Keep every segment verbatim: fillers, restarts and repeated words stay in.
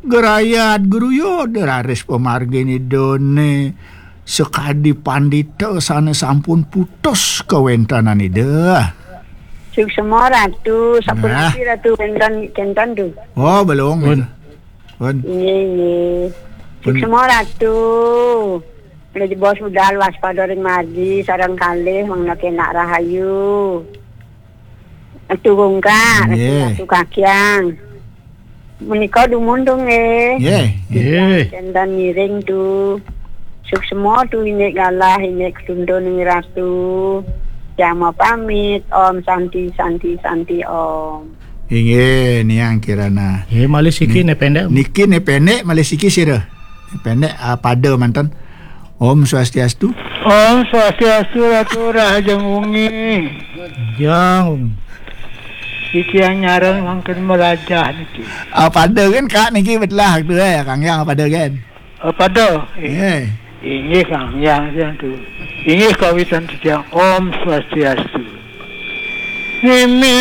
Gerayat geruyut raris pamargin Idané sakadi pandita sané sampun putus kawéntenan Ida. Suksma Ratu, sapunapi Ratu, kénten, kénten tu? Oh, belum. Pun. Pun. Inggih, inggih. Pun. Suksma Ratu. Ida bos budal waspada ring margi sareng kalih mangda kénak rahayu. Ratu Gungkak, Ratu, Ratu Kakyang. Menika dumun tu nggih. Nggih. Nggih. Kénten ngiring tu. Suksma tu indik galah, indik ketuntun nggih Ratu. Jama pamit. Om Santi, Santi, Santi, Om. Inggih, Niang Kirana. Nggih, malih siki Ni-, né pendek. Niki né pendek, malih siki sira. Pendek, ah, pada manten. Om Swastiastu. Om Swastiastu, Ratu Rahajeng Wengi. Jang. Titiang nyareng mangkin melajah niki. Ah, pada kan, Kak, niki betelah tu, eh, Kang Yang pada kan? Ah, pada. Eh. Eh. Inggih, Kang Yang, Yang tu. Inggih kawitan titiang. Om Swastiastu. Mimitanira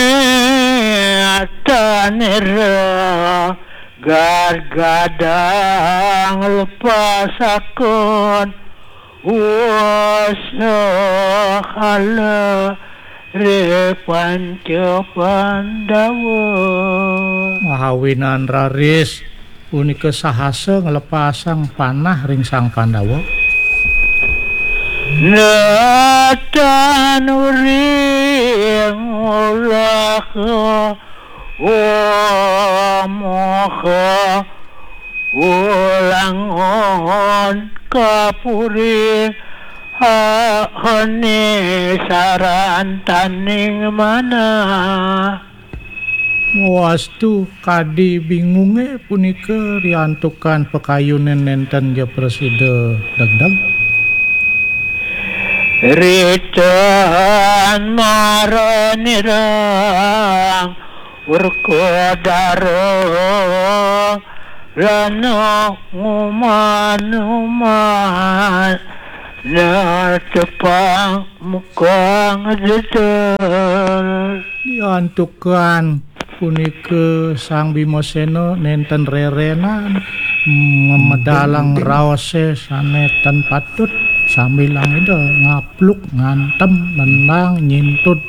gargadang lepasakon wasahala ri Panca Pandawa. Mahawinan raris punika sahasa nglepasang panah ring Sang Pandawa. Natan uring ulah Wa moha ulangon kapuri hahane sarantaning manah. Wastu kadi bingungé punika riantukan pakayuné nénten ja prasida degdeg. Ritan maranirang Werkudara rana nguman-uman natepang muka ngededel. Diantukan punika Sang Bimasena nénten rerenan memedalang raosé sané ten patut, sambilang Ida ngapluk, ngantem, nendang, nyintud,